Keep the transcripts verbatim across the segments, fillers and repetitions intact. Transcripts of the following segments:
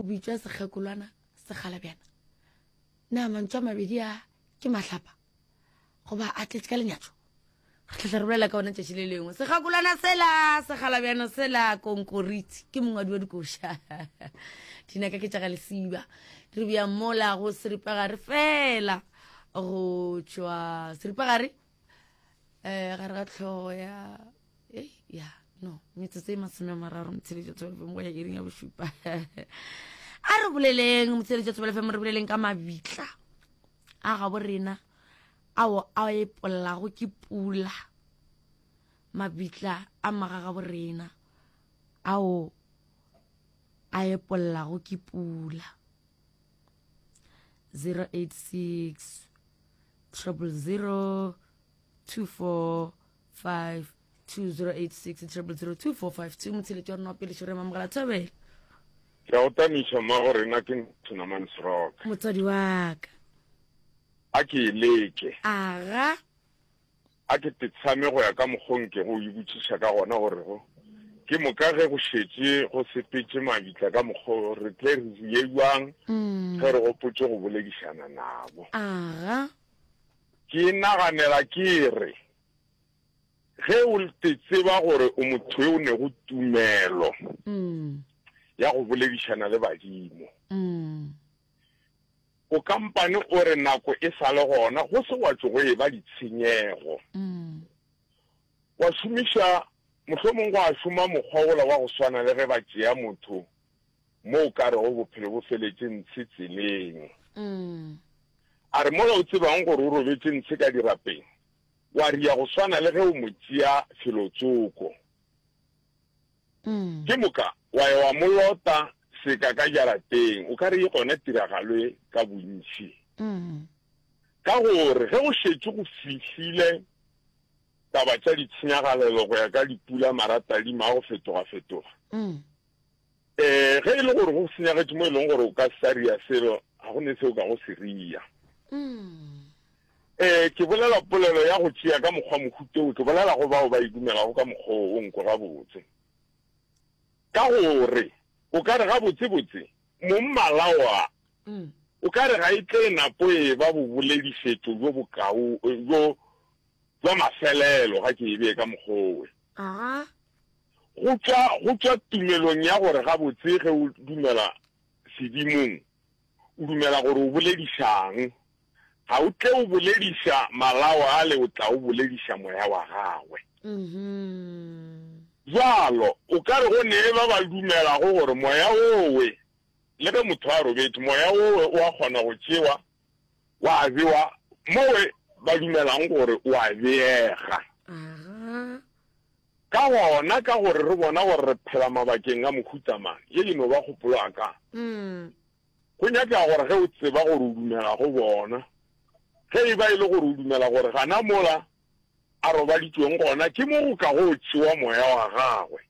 bitšwa sekgekolwana sekgalabjana na mantšu a mabedi a ke mahlapa goba a tletše ka lenyatšo re tlatla re bolela ka ona tšatši le lengwe sekgakolwana sela sekgalabjana sela konkoriti ke mongwadi wa dikoša dinaka ke tša ga lesiba re bja mola go seripagare fela go tšwa seripagare um gare ga tlhogo ya ei ya no metsotso e masome a mararo motsheletso thobela fm go ya iring ya bošupa a re boleleng motsheletso thobela fm re boleleng ka mabitla a gabo rena ao a epollago ke pula mabitla a magagabo rena ao a epollago ke pula zero eight six triple zero two four five two zero eight six triple zero two four five two motsheletši wa rena wa pele šore mamogela thobela Ke a o tamiša mmago rena ke Nthunamane Seroka. Motswadi wa ka. A ke e leke. Aga. A ke tetshame go ya ka mokgo nkego o e botšiša ka gona gore go ke moka ge go šetše go sepetše mabitla ka mokgo re tle re ye bjang ge re gopotše go boledišana nabo. Aga. Ke naganela ke re, ge o te tseba gore o motho yo o nego tumelo ya go boledišana le badimo, o kampane o re nako e sa le gona go se gwa tšo go eba ditshenyego, wa šomiša, mohlomong gwa šoma mokgwa wola wa go swana le ge ba tšea motho mo o ka rego bophelo bo feletše ntshe tseleng. A re mola o tsebang gore o robetše ntshe ka dirapeng, wa ria go swana le ge o mo tšea felotsoko. Ke moka wa ya wa mo lota seka ka jarateng, o ka re e gona tiragalo e ka bontši. Ka gore ge go šetše go fihlile taba tša ditshenyagalelo go ya ka dipula maratadima a go fetogafetoga, Ee, ge e le gore go senyagetše mo e leng gore o ka se sa ria selo, ga go ne se o kago se ria. Ee, ke bolela polelo ya go tšea ka mokgwa mohuta wo, ke bolela go bao ba e dumelago ka mokgwa wo, o nkwe gabotse. Ka gore o ka re gabotsebotse mongmalao a, o ka re ga e tle e napo e eba boboledišetšo bjo bokao, bjo, bja mafelelo, ga ke e bee ka mokgwa wowe. Aga. Go tšwa, go tšwa tumelong ya gore gabotse ge o dumela sedimong, o dumela gore o boledišang. Ga o tle o bolediša malao ale, o tla o bolediša moya wa gagwe. Bjalo, o ka re go ne ba ba dumelago gore moya wowe, le ge motho a robetše, moya wowe o a kgona go tšewa wa bewa mowe ba dumelang gore o a beega. Ka gona, ka gore re bona gore re phela mabakeng a mohuta mang, ye e no ba kgopolo ya ka. Go nyakega gore ge o tseba gore o dumela go bona, ge e ba e le gore o dumela gore gana mola a robaditšweng gona ke mo go ka go tšewa moya wa gagwe,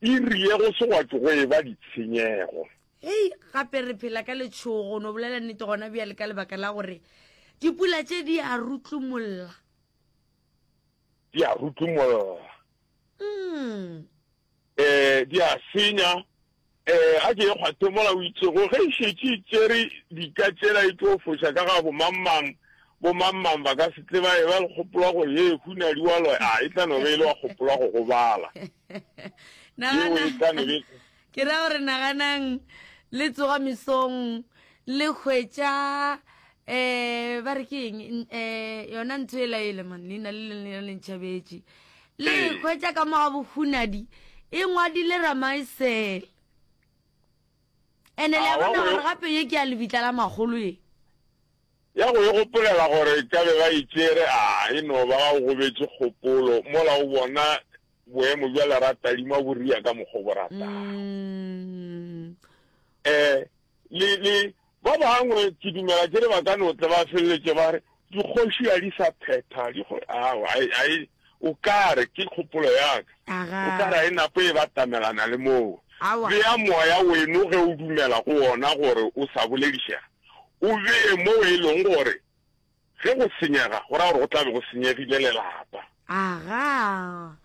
iri ye go se gwa tšo go eba ditshenyego. Hei, gape re phela ka letšhogo, no bolela nnete gona bjale ka lebaka la gore dipula tše di a rutlumolla. Di a rutlumolla. Mm. Eh, di a senya. Eh, a ke e kgwathe mola o itšego ge e šetše e tšere dika tšela e tlo foša ka ga bomangmang, bomangmang ba ka se tle ba eba le kgopolo ya gore ye hunadi wa loya, a e tla no be e le wa kgopolo ya go gobala. Yeo e tla no be. Ke ra gore naganang le tsoga mesong le hwetša um ba re ke eng um yona ntho e laele man leina le leng le le ntšhabetše le Ee. hwetša ka mo ga bohunadi e ngwadile ramaesele ene le a Aowa, bona go gore yo- gape ye ke ya lebitla la magolo ye Ya go e gopolela gore e ka be ba e tšere, a e no ba ga o gobetše kgopolo mola o bona boemo bja leratadima bo ria ka mokgwa o bo ratago. Mm. Eh, le, le, ba bangwe ke dumela ke re ba ka no tle ba feleletše ba re dikgoši ga di sa phetha, dikgo-, aowa, a e, a e, o ka re ke kgopolo ya ka, o ka re a e napo e batamelana le moo. Aowa. Bea moya weno ge o dumela go wona gore o sa boledišega, o bee moo e leng gore ge go senyega go ra gore go tla be go senyegile lelapa. Aga.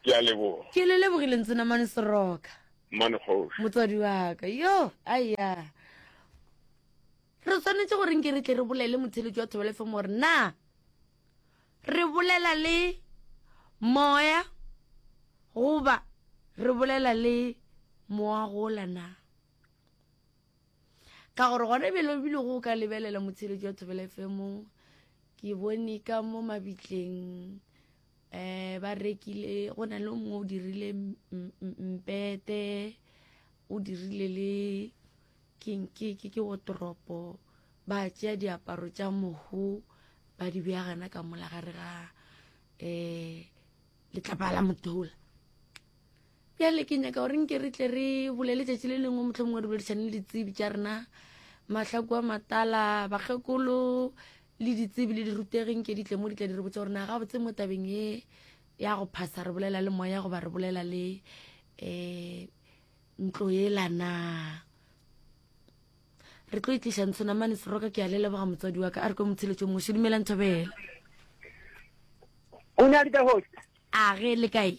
Ke a leboga. Ke le lebogile Ntsenamane Seroka. Mmane Kgoši. Motswadi wa ka. Yo, aiya. Re swanetše gore nke re tle re bolele motheletši wa Thobela F M gore na re bolela le moya goba re bolela le moagola na. Ka gore gona bjale bile go ka lebelela motheletši wa Thobela F M, ke bone ka mo mabitleng eh ba rekile, go na le o mongwe o dirile mpete, o dirile le keng, ke ke ke wardrobe, ba tšea diaparo tša mohu ba di bea gana ka mola gare ga eh letlapa la motola. Bjale ke nyaka gore nke re tle re bolele tšatši le lengwe, mohlomongwe mongwe re boledišane le ditsebi tša rena, Mahlaku a Matala, bakgekolo le ditsebi le dirutegi, nke di tle mo di tla di re botsa gore na gabotse mo tabeng ye ya go phasa re bolela le moya goba re bolela le um ntlo ela na. Re tlo itliša Ntshonamane Seroka. Ke a le leboga, motswadi wa ka. A re kwe motsheletšo mongwe. Dumelang, Thobela. O ne a di host. A ge le kae?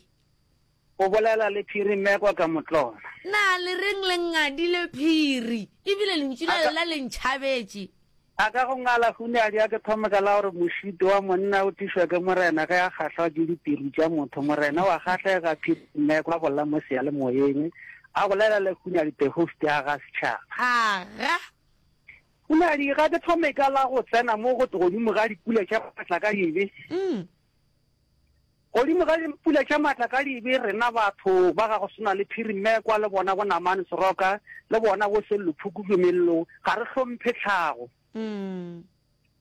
O bolela le Phiri Mmekwa ka Motlona. Na le reng le ngadile, Phiri? Ebile lentšu la lela le ntšhabetše. A ka go ngala hunadi a ke thome ka la gore mošito wa monna o tišwa ke morena ge a kgahlwa ke ditiru tša motho. Morena wa kgahlega. Phiri Mmekwa bolla mo seyalemoyeng, a bolela le Hunadi the host ya ga setšhaba. Aga. Hunadi, ga ke thome ka la go tsena mo go godimo ga dipula tša maatla ka dibe. Mm. Godimo ga dipula tša maatla ka dibe, rena batho ba ga go swana le Phiri Mmekwa le bona bo Namane Seroka le bona bo Sello Phukubje Mello, ga re hlomphe tlhago. Mm.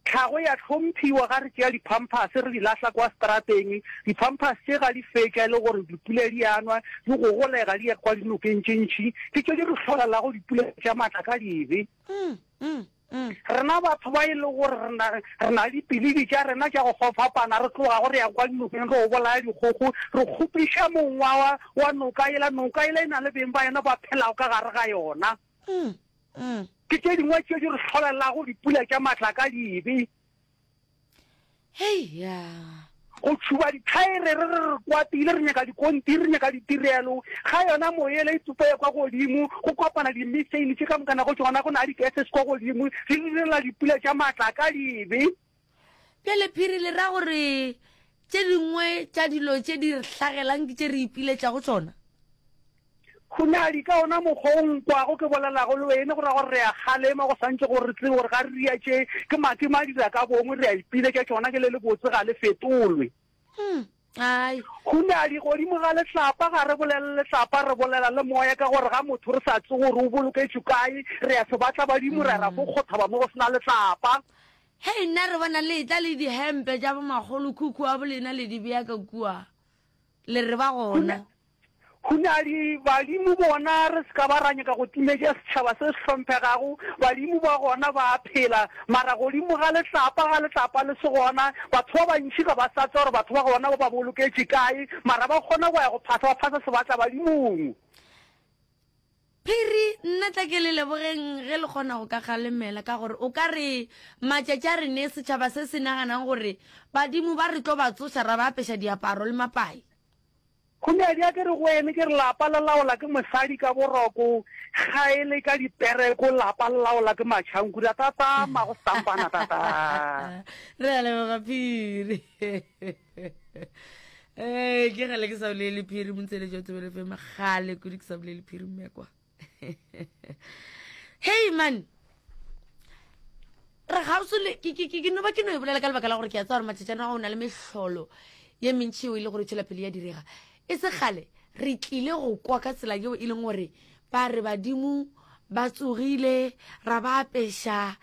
Tlhago ya hlomphiwa ga re tšea di-pampers re di lahla kwa strateng. Di-pampers tše ga di fetša e le gore dipula di anwa, di gogolega, di ya kwa dinokeng tše ntšhi, ke tše di re hlolelago dipula tša maatla ka dibe. Mm. Mm. Mm. Rena batho ba e le gore re na re na le dipilidi tša rena tša go fapana, re tloga gore ya kwa dinokeng re o bolaya dikgogo, re kgopiša mongwa wa wa noka ela. Noka ela e na le beng ba yona ba phelago ka gare ga yona. Mm. Mm. Ke tše dingwe tše di re hlolelago dipula tša maatla ka dibe. Hei ya. Go tšhuba dithaere re re re kwatile, re nyaka dikontiri, re nyaka ditirelo ga yona moyele e tsupa ya kwa godimo, go kopana di-methane tše ka mokana go tšona, go na le di-gases kwa godimo, di direla dipula tša maatla ka dibe. Bjale Phiri, le ra gore tše dingwe tša dilo tše di re hlagelang ke tše re ipiletšago tšona? Hunadi, ka ona mokgwa o nkwago ke bolelago le wene, go ra gore re a kgalema, go santse gore re tsebe gore ga re ria tše ke make madira ka bongwe, re a ipiletša tšona, ke le le botse ga le fetolwe. Mm. Ai. Hunadi, godimo ga letlapa ga re bolele letlapa, re bolela le moya, ka gore ga motho re sa tse gore o boloketšwe kae, re ya se batla badimo, re ra fo kgothaba mo go sena letlapa. Hei, nna re bona le tla le dihempe tša bomakgolo khukhu wa bolena le di bea ka kua, le re ba gona. Hunadi, badimo bona re se ka ba ra nyaka go timetša setšhaba se se hlomphegago, badimo ba gona ba a phela, mara godimo ga letlapa ga letlapa le se gona, batho ba bantši ga ba sa tse gore batho ba gona ba ba boloketše kae, mara ba kgona go ya go phasa, ba phasa sebatla badimong. Phiri, nna tla ke le lebogeng ge le kgona go ka galemela, ka gore o ka re matšatši a re ne setšhaba se se naganang gore badimo ba re tlo ba tsoša ra ba apeša diaparo le mapai. Hunadi, a ke re go ene ke re lapa le laola ke mosadi ka boroko, ga e le ka dipereko lapa le laola ke matšhankura tata mago stampana tata. Re a leboga, Phiri. Ee, ke gale ke sa bolele Phiri montseletso wa Thobela F M, gale kudu ke sa bolele Phiri Mmekwa. Hey man, re gausi le ke ke ke no ba ke no e bolela ka lebaka la gore ke a tseba gore matšatšana go na le mehlolo ye mentši eo e le gore e tšwela pele ya direga. E se kgale re tlile go kwa ka tsela yeo e leng gore ba re badimo ba tsogile, ra ba apeša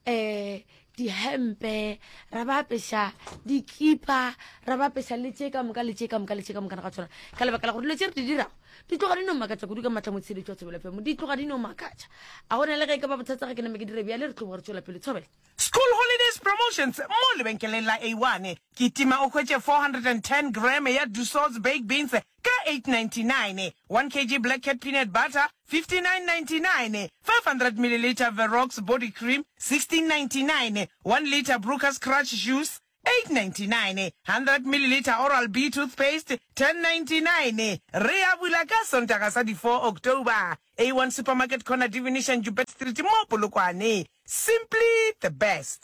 um dihempe, ra ba apeša dikipa, ra ba apeša le tše ka moka le tše ka moka le tše ka moka ga tsona, ka lebaka la gore dilo tše re di dirago di tloga di no makatša kudu ka maatla motsheletso wa Thobela F M, di tloga di no makatša. A gona le ge e ka ba bothata ge ke name ke dire bjale, re tloga re tšwela pele, Thobela. School holidays promotions mo lebenkeleng la A one. Kitima o hwetše four hundred and ten gram ya Dussauts baked beans ka eight ninety-nine, one kilogram Black Cat peanut butter fifty-nine ninety-nine, five hundred milliliter Verox body cream sixteen ninety-nine, one liter Brooker's Crush juice eight ninety-nine, hundred millilitre Oral B toothpaste, ten ninety-nine. Re a bula ka Sontaga sa di four October. A one Supermarket corner Divination Joubert Street mo Polokwane. Simply the best.